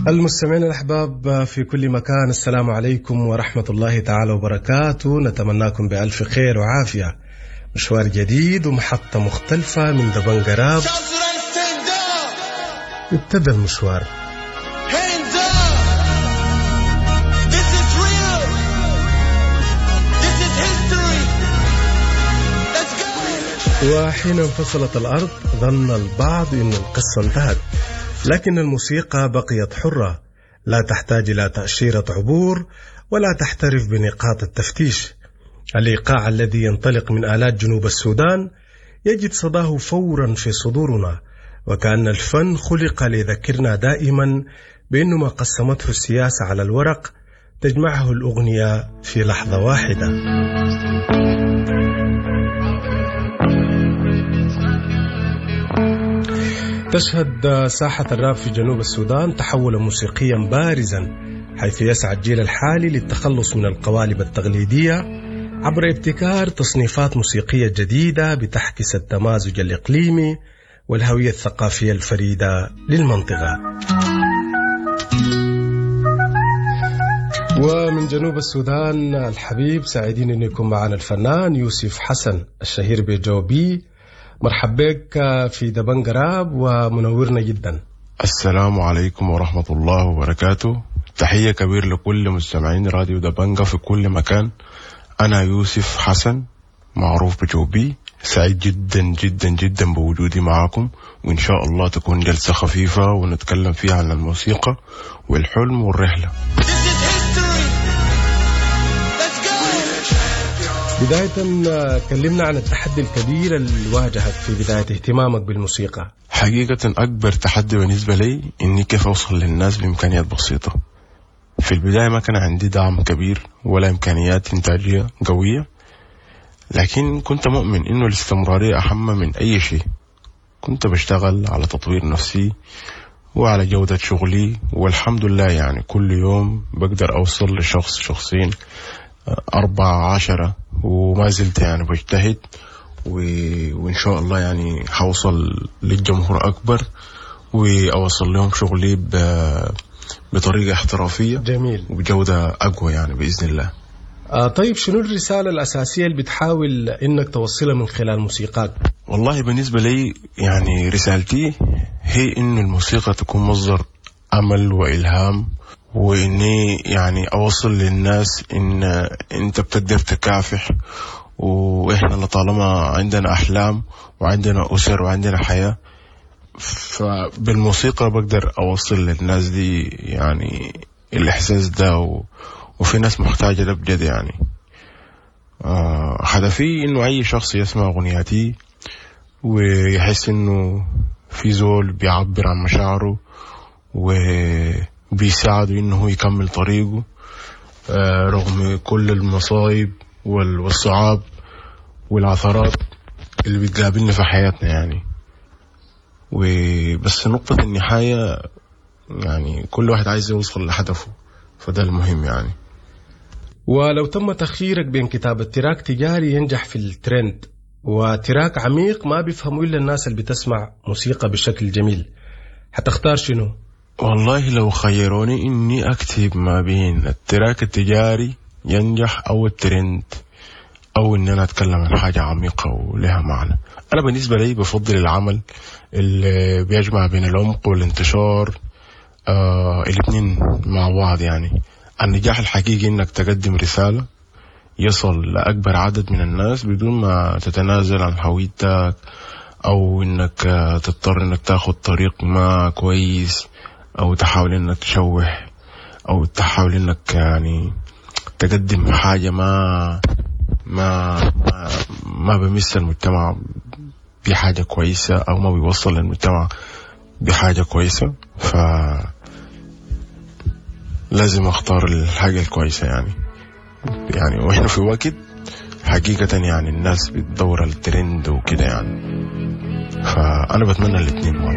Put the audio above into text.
المستمعين الأحباب في كل مكان، السلام عليكم ورحمة الله تعالى وبركاته. نتمناكم بألف خير وعافية. مشوار جديد ومحطة مختلفة من دبنقا راب. ابتدى المشوار. Hands up! This is real! This is history! Let's go! وحين انفصلت الأرض ظن البعض أن القصة انتهت، لكن الموسيقى بقيت حرة، لا تحتاج إلى تأشيرة عبور ولا تحترف بنقاط التفتيش. الإيقاع الذي ينطلق من آلات جنوب السودان يجد صداه فورا في صدورنا، وكأن الفن خلق ليذكرنا دائما بأن ما قسمته السياسة على الورق تجمعه الأغنية في لحظة واحدة. تشهد ساحة الراب في جنوب السودان تحولا موسيقيا بارزا، حيث يسعى الجيل الحالي للتخلص من القوالب التقليدية عبر ابتكار تصنيفات موسيقية جديدة بتعكس التمازج الإقليمي والهوية الثقافية الفريدة للمنطقة. ومن جنوب السودان الحبيب، سعيدين أن يكون معنا الفنان يوسف حسن الشهير بجوبي. مرحب بك في دبنقا راب ومنورنا جدا. السلام عليكم ورحمة الله وبركاته. تحية كبير لكل مستمعين راديو دبنجة في كل مكان. أنا يوسف حسن معروف بجوبي، سعيد جدا جدا جدا بوجودي معاكم، وإن شاء الله تكون جلسة خفيفة ونتكلم فيها عن الموسيقى والحلم والرحلة. This is history! Let's go! بداية كلمنا عن التحدي الكبير اللي واجهك في بداية اهتمامك بالموسيقى. حقيقة أكبر تحدي بالنسبة لي إني كيف أوصل للناس بإمكانيات بسيطة. في البداية ما كان عندي دعم كبير ولا إمكانيات إنتاجية قوية، لكن كنت مؤمن إنه الاستمرارية أهم من أي شيء. كنت بشتغل على تطوير نفسي وعلى جودة شغلي، والحمد لله يعني كل يوم بقدر أوصل لشخص، شخصين، 4، 10، وما زلت يعني بجتهد وإن شاء الله يعني حوصل للجمهور أكبر وأوصل لهم شغلي بطريقة احترافية جميل. وبجودة أقوى يعني بإذن الله. طيب، شنو الرسالة الأساسية اللي بتحاول إنك توصلها من خلال موسيقاك؟ والله بالنسبة لي يعني رسالتي هي إنه الموسيقى تكون مصدر أمل وإلهام، وإني يعني أوصل للناس إن أنت بتقدر تكافح، وإحنا لطالما عندنا أحلام وعندنا أسر وعندنا حياة، فبالموسيقى بقدر أوصل للناس دي يعني الإحساس ده وفي ناس محتاجة ده بجد يعني. هدفي إنه أي شخص يسمع أغنياتي ويحس إنه في زول بيعبر عن مشاعره وبيساعده إنه هو يكمل طريقه، رغم كل المصايب والصعاب والعثرات اللي بتقابلنا في حياتنا يعني. وبس نقطة النهاية يعني كل واحد عايز يوصل لهدفه، فده المهم يعني. ولو تم تخييرك بين كتابة track تجاري ينجح في الترند و track عميق ما بيفهموا إلا الناس اللي بتسمع موسيقى بشكل جميل، حتختار شنو؟ والله لو خيروني إني أكتب ما بين ال track التجاري ينجح أو الترند، أو إن أنا أتكلم عن حاجة عميقة ولها معنى، أنا بالنسبة لي بفضل العمل اللي بيجمع بين العمق والانتشار، الاتنين مع بعض يعني. النجاح الحقيقي إنك تقدم رسالة يصل لأكبر عدد من الناس بدون ما تتنازل عن هويتك، أو إنك تضطر إنك تاخد طريق ما كويس، أو تحاول إنك تشوه، أو تحاول إنك يعني تقدم حاجة ما بمس المجتمع بحاجة كويسة، أو ما بيوصل للمجتمع بحاجة كويسة. ف لازم أختار الحاجة الكويسة يعني. وإحنا في وقت حقيقة يعني الناس بتدور الترند وكده يعني، فأنا بتمنى الاتنين مع بعض.